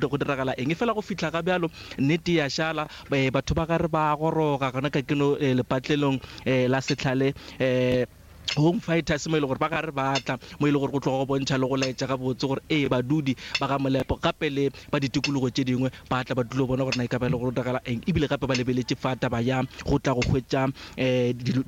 go diragala eng. Efela go fihla ga bjalo nnete ya šala, batho ba gare ba goroga gona ka keno lepatlelong la Sehlale Home Fighters mo e le gore ba gare ba tla mo e le gore go tloga go bontšha le go laetša gabotse gore ee badudi ba ga Molepo gape le ba ditikologo tše dingwe ba tla ba dilo bona gore na e ka ba e le gore go diragala eng ebile gape ba lebeletše fa taba ya go tla go hwetša um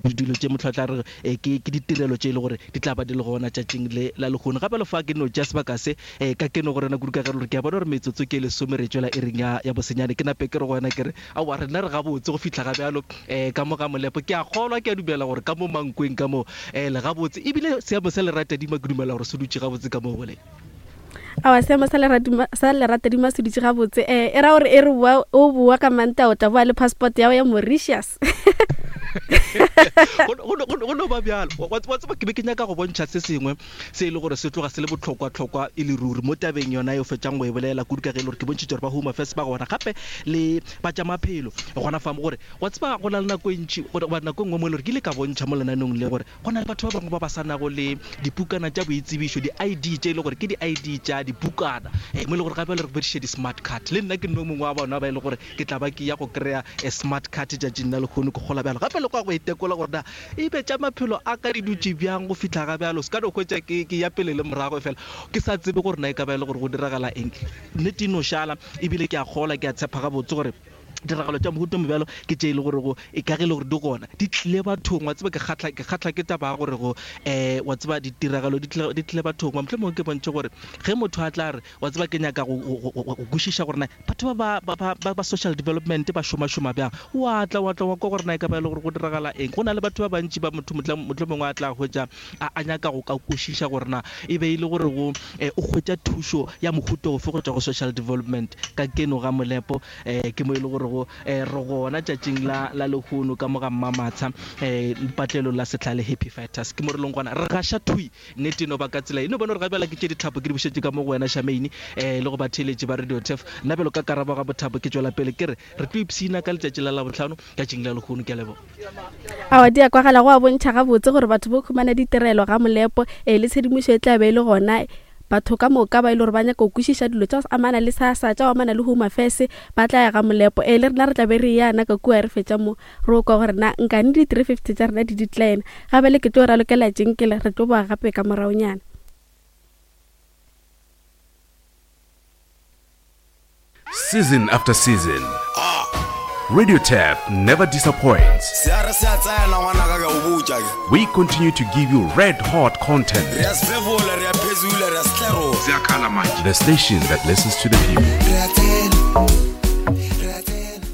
dilo tše motho a tla re ke ditirelo tše e le gore di tla ba di le gona tšatšing le la lehono. Gape le fa ke no tšea sebaka se um ka keno go rena kudu ka ge gore ke a bona gore metsotso ke lesome re tšwela iring ya bosenyane ke nape ke re go wena ke re Aowa, rena re gabotse go fihla ga bjalo um ka mo ga Molepo. Ke a kgolwa, ke a dumela gore ka mo Mankweng ka mo um le gabotse. Ebile seemo sa leratadima ke dumela gore se dutše gabotse ka mo go le. Aowa, seemo sa leratadima, sa leratadima se dutše gabotse. Um e ra gore e re boa, o boa ka Mantaga o tla boa le passport ya go ya Mauritius. Go no ba bjalo. Wa tseba, ke be ke nyaka go bontšha se sengwe se e le gore se tloga se le bohlokwa-hlokwa e le ruri mo tabeng yona ye o fetšang go e bolela, kudu ka ge e le gore ke bontšhitše gore ba Home Affairs ba gona gape le ba tša maphelo gona fa mo gore wa tseba go na le nako e ntši goba nako e nngwe mo e le gore ke ile ka bontšha mo lenaneong le gore go na le batho ba bangwe ba ba sa nago le dipukana tša boitsebišo, di-ID tše e le gore ke di-ID tša dipukana mo e le gore gape le re bediše di-smart card. Le nna ke nno mongwe wa bona ba e le gore ke tla ba ke ya go kry-a smart card tšatšing la lehono ke gola bjalo gape le kwa go itekola gore na E be tša maphelo a ka di dutše bjang go fihla ga bjalo? Se ka no hwetša ke, ke ya pele le morago, efela ke sa tsebe gore na e ka ba e le gore go diragala eng. Nnete e no šala, ebile ke a kgolwa, ke a tshepa gabotse gore ditiragalo tša mohuta o mobjalo ke tše e le gorego e ka ge e le gore di gona, di tlile bathong. Wa tseba, ke kgahla, ke kgahla ke taba ya gore go, um wa tseba, ditiragalo di tlile, di tlile bathong. Mohlomongwe ke bontšhe gore ge motho a tla re, Wa tseba, ke nyaka go, go, go, go kwešiša gore na batho ba ba, ba, ba, ba social development ba šomašoma bjang. Wa tla, wa tla wa kwa gore na e ka ba e le gore go diragala eng. Go na le batho ba bantši ba motho mohla, mohlomongwe a tla hwetša a, a nyaka go ka kwešiša gore na e be e le gore go, eh, o hwetša thušo ya mohuta ofe go tšwa go social development. Ka keno ga Molepo, eh, ke mo e le gore go, eh, re gona tšatšing la, la lehono ka mo ga Mmamatsha, eh, lepatlelong la Sehlale Happy Fighters. Ke mo re leng gona. Re gaša thwi Nnete e no ba ka tsela ye. E no bona gore ga bjala ke tše ditlhapo ke di bušetše ka mo go wena Charmaine, eh, le go batheeletši ba Radio Turf. Nna bjalo ka Karabo ga Bothapo ke tšwela pele ke re, re tlo ipshina ka letšatši la Labohlano, tšatšing la lehono. Ke a leboga. Aowa, di a kwagala, go a bontšha gabotse gore batho bo khumana ditirelo ga Molepo, eh, le tshedimošo e tla be e le gona. Batho ka moka ba e le gore ba nyaka go kwešiša dilo tša go amana le SASSA, tša go amana le Home Affairs, ba tla ya ga Molepo. Eh, le rena re tla be re eya na ka kua re fetša mo. Re o kwa gore na nkane di 350 tša rena di decline. Ga bjale ke tlo ralokela tšinkele, re tlo boa gape ka moraonyana. Season after season, Radio Turf never disappoints. Se a re se a tsena ngwanaka ke a o botša ke. We continue to give you red hot content. Re a sefefola, re a phezula, re a setlerola. Se a khala manje. The station that listens to the people. Re a tsena, re a tsena.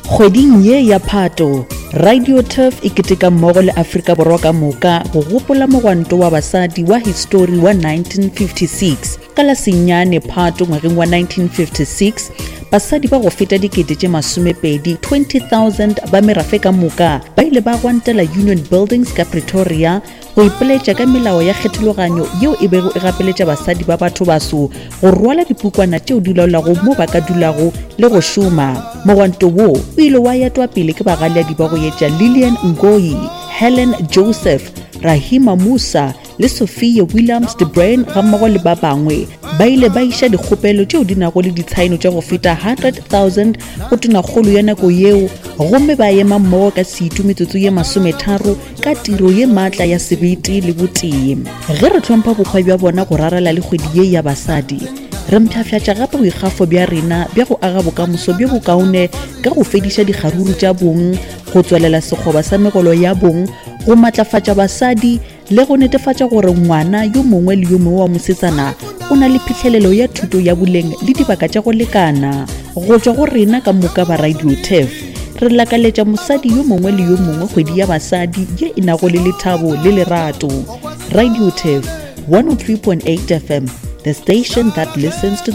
Kgweding ye ya Phato, Radio Turf e keteka mmogo le Afrika Borwa ka moka go gopola mogwanto wa basadi wa histori wa 1956. Ka la senyane Phato ngwageng wa 1956, basadi ba go feta dikete tše masomepedi 20,000 ba merafe ka moka ba ile ba gwantela Union Buildings ka Pretoria go ipoletša ka melao ya kgethologanyo yeo e bego e gapeletša basadi ba batho baso go rwala dipukwana tšeo di laolago mo ba ka dulago le go šoma. Mogwanto wo o ile wa etwa pele ke bagaleadi ba go etša Lillian Ngoyi, Helen Joseph, Rahima Moosa le Sophia Williams de Bruyn gammogo le ba bangwe. Ba ile ba iša dikgopelo tšeo di nago le ditshaeno tša go feta 100,000 go tonakgolo ya nako yeo gomme ba ema mmogo ka setu metsotso ye masometharo ka tiro ye maatla ya sebete le botee. Ge re hlompha bohwa bja bona go rarela le kgwedi ye ya basadi, re mpshafšatša gape boikgafo bja rena bja go aga bokamoso bjo bokaone ka go fediša dikgaruru tša bong, go tswalela sekgoba sa megolo ya bong, go matlafatša basadi le go netefatša gore ngwana yo mongwe le yo mongwe wa mosetsana o na le phihlelelo ya thuto ya boleng le dibaka tša go lekana. Go tšwa go rena ka moka ba Radio Turf, re lakaletša mosadi yo mongwe le yo mongwe kgwedi ya basadi ye e nago le lethabo le lerato. Radio Turf, 103.8 FM, the station that listens to the.